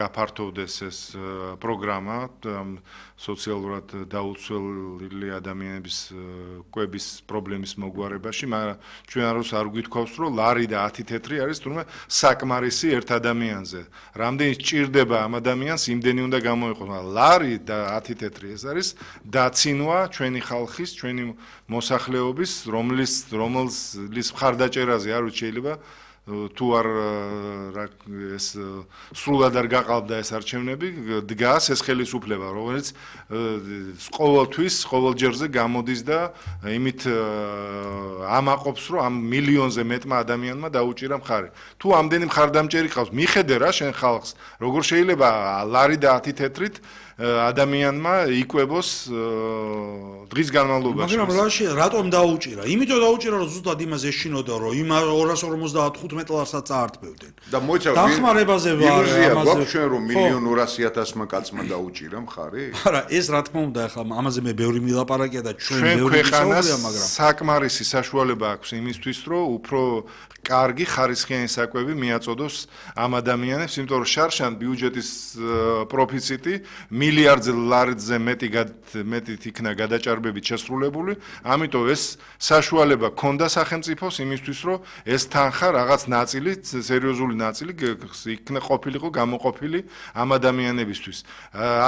გაფართოვდეს ეს პროგრამა სოციალურად დაუცველი ადამიანების კვების პრობლემის მოგვარებაში, მაგრამ ჩვენ არ გვითხოვს, რომ ლარი და 10 თეთრი არის თუმცა საკმარისი ერთ ადამიანზე. რამდენი სჭირდება ამ ადამიანს, იმდენი უნდა გამოიყოს, მაგრამ ლარი და 10 თეთრი ეს არის დაცინვა ჩვენი ხალხის, ჩვენი მოსახლეობის, რომლის მხარდაჭერაზე არ ვიცი შეიძლება თუ არ ეს სრულად არ გაყალბდა ეს არჩევნები, დგას ეს ხელისუფლება, რომელიც ყოველთვის, ყოველჯერზე გამოდის და იმით ამაყობს, რომ ამ მილიონზე მეტმა ადამიანმა დაუჭირა მხარი. თუ ამდენი მხარდამჭერი ყავს, მიხედე რა შენ ხალხს, როგორ შეიძლება ლარი და 10 თეთრით ადამიანმა იკვებოს დღის განმავლობაში. მაგრამ რატომ დაუჭირა? იმიტომ დაუჭირა, რომ ზუსტად იმას ეშინოდა, რომ იმ 255 ლარსაც წაართმევდნენ. და მოიცა დახმარებაზე ვარ ამაზე ჩვენ რომ 1.200.000 კაცმა დაუჭირა მხარი? არა, ეს რა თქმა უნდა, ახლა ამაზე მე ბევრი მილაპარაკია და ჩვენ ბევრი ვისაუბრია, მაგრამ საკმარისი საშუალება აქვს იმისთვის, რომ უფრო კარგი ხარისხიანი საკვები მიაწოდოს ამ ადამიანებს, იმიტომ რომ შარშან ბიუჯეტის პროფიციტი მილიარდ ლარზე მეტი იქნა გადაჭარბებით შესრულებული, ამიტომ ეს საშუალება ქონდა სახელმწიფოს იმისთვის, რომ ეს თანხა რაღაც ნაწილი, სერიოზული ნაწილი იქნა ყოფილიყო გამოყოფილი ამ ადამიანებისთვის.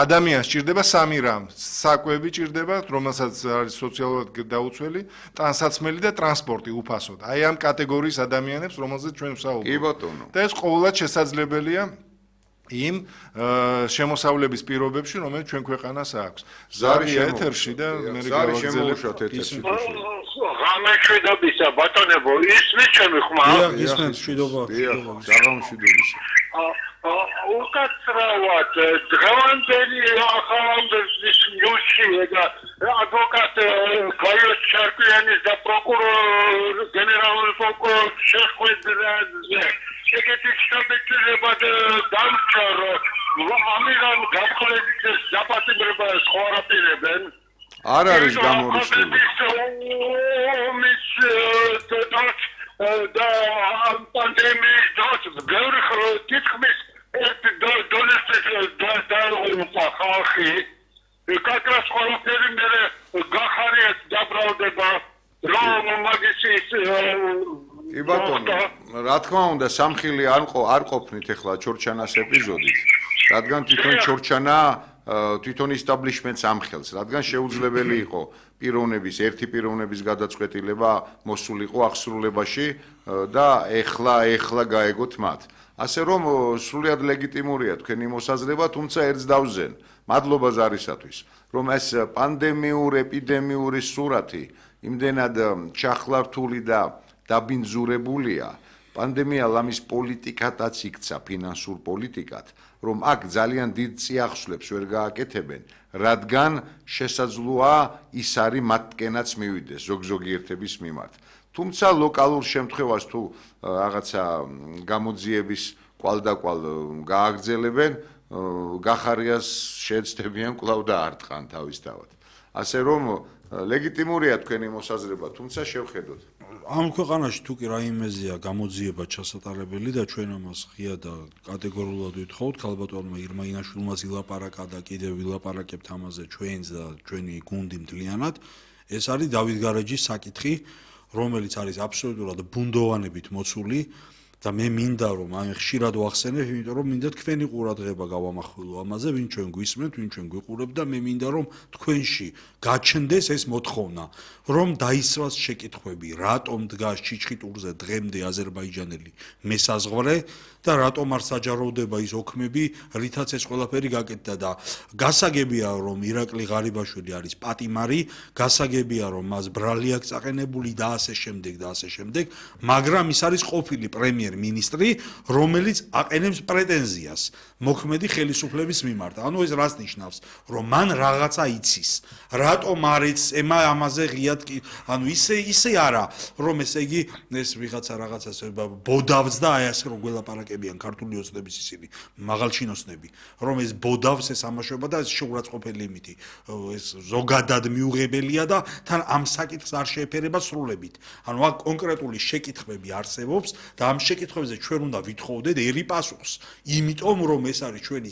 ადამიანს ჭირდება სამი რამ: საკვები ჭირდება, რომელსაც არის სოციალურად დაუცველი, ტანსაცმელი და ტრანსპორტი უფასოდ. აი ამ კატეგორიის ადამიანებს, რომელზეც ჩვენ ვსაუბრობთ. კი ბატონო. და ეს ყოველად შესაძლებელია იმ შემოსავლების პირობებში, რომელიც ჩვენ ქვეყანას აქვს. ზარია ეთერში და მე გავაგზავნოთ ეთერში. გამეშვიდობისა ბატონებო, ისმის ჩემი ხმა? ისმის მშვიდობა. გამშვიდობისა. უკაცრავად დღევანდელი ახალგაზრდის ნიუსში და ადვოკატ გაიოს ჩარკვიანის და პროკურორ გენერალური პროკურორ შეხვედრაზე შეკეთის შაბეჭირება დამჭა, რომ ამირან გაფრთხილებით დაპატიმრებას ხوارაპირებენ. არ არის გამორიცხული. და პანდემიის დროს ბევრი თითქმის დონესტეს და ხალხი კაკრას ყველაფერი მე გახარიათ დაბრალდება რომ მაგისის კი ბატონო, რა თქმა უნდა, სამხილი არ ყოფნით ახლა ჩორჩანას ეპიზოდით, რადგან თვითონ ჩორჩანა თვითონ establishment-ს ამხელს, რადგან შეუძლებელი იყო ერთი პიროვნების გადაწყვეტილება მოსულიყო აღსრულებაში და ეხლა გაეგოთ მათ. ასე რომ სრულიად ლეგიტიმურია თქვენი მოსაზრება, თუმცა ერთს დავზენ. მადლობა ზარისათვის, რომ ეს ეპიდემიური სურათი იმდენად ჩახლართული და დაბინძურებულია. პანდემია ლამის პოლიტიკათაც იქცა, ფინანსურ პოლიტიკად, რომ აქ ძალიან დიდ წიაღსვლებს ვერ გააკეთებენ, რადგან შესაძლოა ის არის მათკენაც მივიდეს ზოგი ერთების მიმართ. თუმცა ლოკალურ შემთხვევას თუ რაღაცა გამოძიების კვალდაკვალ გააგრძელებენ, გახარიას შეეცდებიან კვლავ დაარტყან თავისთავად. ასე რომ ლეგიტიმურია თქვენი მოსაზრება, თუმცა შევხედოთ. ამ ქვეყანაში თუ კი რაიმეზეა გამოძიება ჩასატარებელი და ჩვენ ამას ღია და კატეგორიულად ვითხოვთ, ქალბატონმა ირმა ინაშვილმაც ილაპარაკა და კიდევ ვილაპარაკებთ ამაზე ჩვენს და ჩვენი გუნდი მთლიანად. ეს არის დავით გარეჯის საკითხი, რომელიც არის აბსოლუტურად ბუნდოვანებით მოცული და მე მინდა რომ ამ ხშირად ვახსენებ, იმიტომ რომ მინდა თქვენი ყურადღება გავამახვილო ამაზე, ვინ ჩვენ გვისმენთ, ვინ ჩვენ გვიყურებთ და მე მინდა რომ თქვენში გაჩნდეს ეს მოთხოვნა, რომ დაისვას შეკითხვები, რატომ დგას ჩიჩხიტურზე დღემდე აზერბაიჯანელი მესაზღვრე და რატომ არ საჯაროვდება ის ოქმები, რითაც ეს ყველაფერი გაკეთდა და გასაგებია რომ ირაკლი ღარიბაშვილი არის პატიმარი, გასაგებია რომ მას ბრალი აქვს წაყენებული და ასე შემდეგ, მაგრამ ის არის ყოფილი პრემიერ-მინისტრი, რომელიც აყენებს პრეტენზიას მოქმედი ხელისუფლების მიმართ. ანუ ეს რას ნიშნავს, რომ მან რაღაცა იცის. რატომ არ ეცემა ამაზე ღიად ანუ ისე არა, რომ ესე იგი ეს ვიღაცა რაღაცას ბოდავს და აი ასე რომ გველაპარაკებიან ქართული ოცნების ისინი მაღალჩინოსნები, რომ ეს ბოდავს ეს ამაშობა და ეს შეურაცხყოფელი იმითი ეს ზოგადად მიუღებელია და თან ამ საკითხს არ შეეფერება სრულებით. ანუ აქ კონკრეტული შეკითხვები არსებობს და ამ შეკითხვებზე ჩვენ უნდა ვითხოვდეთ ერი პასუხს, იმიტომ რომ ეს არის ჩვენი